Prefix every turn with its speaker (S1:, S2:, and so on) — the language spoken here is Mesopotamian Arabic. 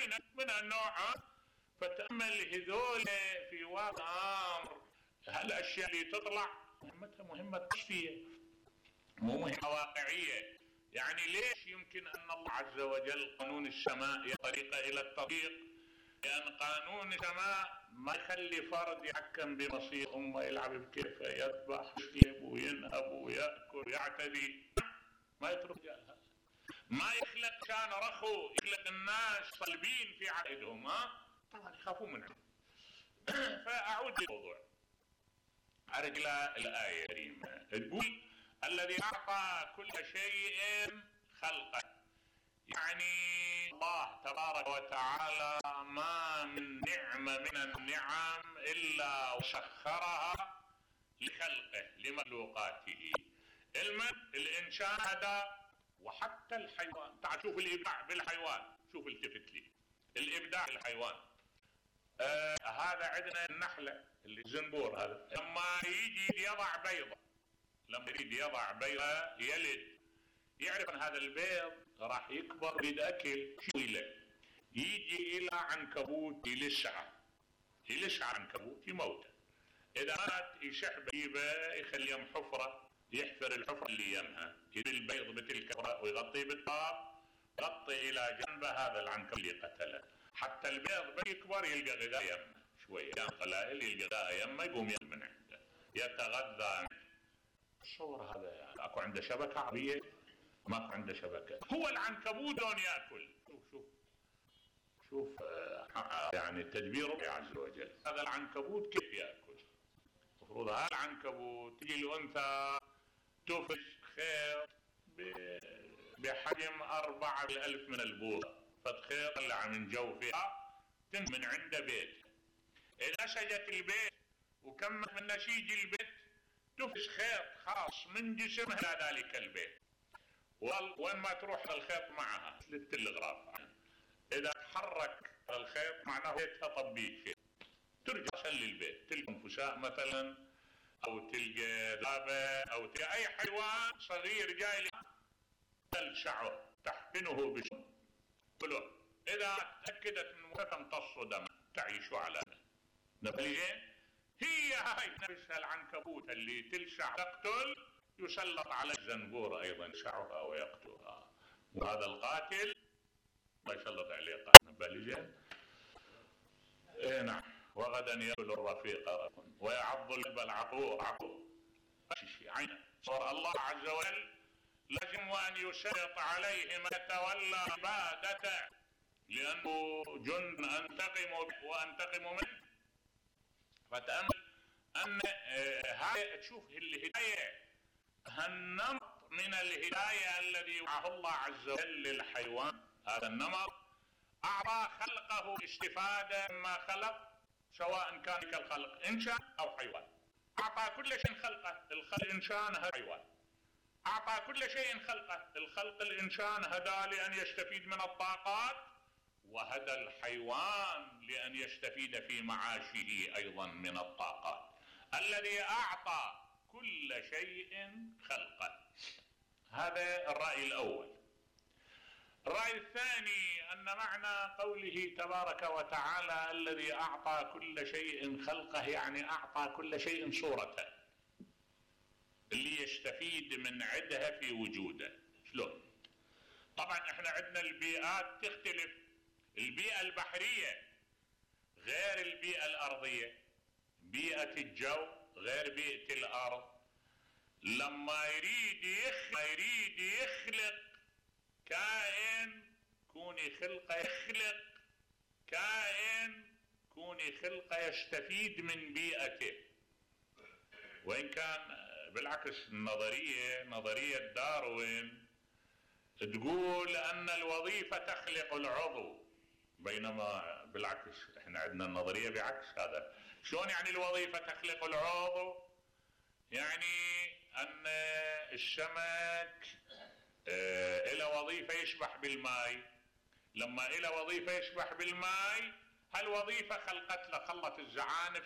S1: عينك من النوع. فتأمل هذول في واقع امر هالاشياء اللي تطلع مهمتها مهمة تشفية مو مهمة واقعية. يعني ليش يمكن ان الله عز وجل قانون السماء هي طريقة الى التطبيق؟ لان قانون السماء ما يخلي فرد يحكم بمصير امه، يلعب بكيفه، يذبح يسلب وينهب ويأكل ويعتدي، ما يترك هذا. ما يخلق كان رخو، يخلق الناس صلبين في عقدهم، طبعا يخافون منه. فاعود للموضوع، ارجع الآية الكريمة تقول الذي اعطى كل شيء خلقه. يعني الله تبارك وتعالى ما من نعمة من النعم الا وسخرها لخلقه لمخلوقاته. الانسان هذا وحتى الحيوان. تعال شوف الابداع بالحيوان، شوف التفت لي الابداع بالحيوان. هذا عندنا النحلة اللي الزنبور هذا لما يجي يضع بيضة، لما يريد يضع بيضة يلد، يعرف ان هذا البيض راح يكبر بيد اكل، شو له؟ يجي الى عنكبوت يلسع عنكبوت يموته. اذا مات يشح بجيبه يخليهم حفرة، يحفر الحفرة اللي يمها، يجيب البيض بتلك الحفرة ويغطيه بالتراب، يغطي الى جنبه هذا العنكبوت اللي قتله، حتى البيض بيكبر يلقى غذاء يمه شوية، كان قلائل يلقى غذاء يمه يقوم ياكل من عنده يتغذى منه. الصور هذا يعني اكو عنده شبكة عربية؟ ماكو عنده شبكة. هو العنكبوت دون ياكل. شوف يعني تدبير ربي عز وجل. هذا العنكبوت كيف ياكل؟ المفروض هذا العنكبوت تجي الانثى تفش خيط بحجم 4,000 من البوصة، فتخيط طلع من جوفها من عنده بيت. اذا سجت البيت وكمل من نسيج البيت تفش خيط خاص من جسمها الى ذلك البيت، وين ما تروح الخيط معها للتلغراف. اذا تحرك الخيط معناه بيتها طبيك، ترجع سلي البيت، تلقى انفساء مثلا او تلقى ذابة او تلقى اي حيوان صغير جاي تلسعه تحقنه بسم كله. اذا تأكدت انه تمتص دم تعيش على نبلين. هي هاي نفسها العنكبوت اللي تلسع تقتل يسلط على الزنبور ايضا يلسعها ويقتلها، وهذا القاتل ما يسلط عليه قاتل نبلين. نعم. وغدا يأكل الرفيق ويعض الكلب العقور. عينه صار الله عز وجل لازم ان يسلط عليه من يتولى عبادته، لانه جند انتقم به وانتقم منه. فتأمل ان هاي تشوف الهداية، هالنمط من الهداية الذي وضعه الله عز وجل للحيوان. هذا النمط اعطى خلقه استفادة مما خلق، سواء كان كالخلق انسان او حيوان. اعطى كل شيء خلقه، الخلق انسان هذا حيوان. اعطى كل شيء خلقه، الخلق الانسان هدى لان يستفيد من الطاقات، وهدى الحيوان لان يستفيد في معاشه ايضا من الطاقات. الذي اعطى كل شيء خلقه. هذا الرأي الاول. الرأي الثاني ان معنى قوله تبارك وتعالى الذي اعطى كل شيء خلقه، يعني اعطى كل شيء صورته اللي يستفيد من عدها في وجوده. شلون؟ طبعا احنا عندنا البيئات تختلف. البيئة البحرية غير البيئة الارضية، بيئة الجو غير بيئة الارض. لما يريد يخلق كائن كوني خلقه، يخلق كائن كوني خلقه يستفيد من بيئته. وإن كان بالعكس نظرية داروين تقول أن الوظيفة تخلق العضو، بينما بالعكس احنا عندنا النظرية بعكس هذا. شلون يعني الوظيفة تخلق العضو؟ يعني أن السمك له وظيفة يسبح بالماء، لما له وظيفة يسبح بالماء هالوظيفة خلت الزعانف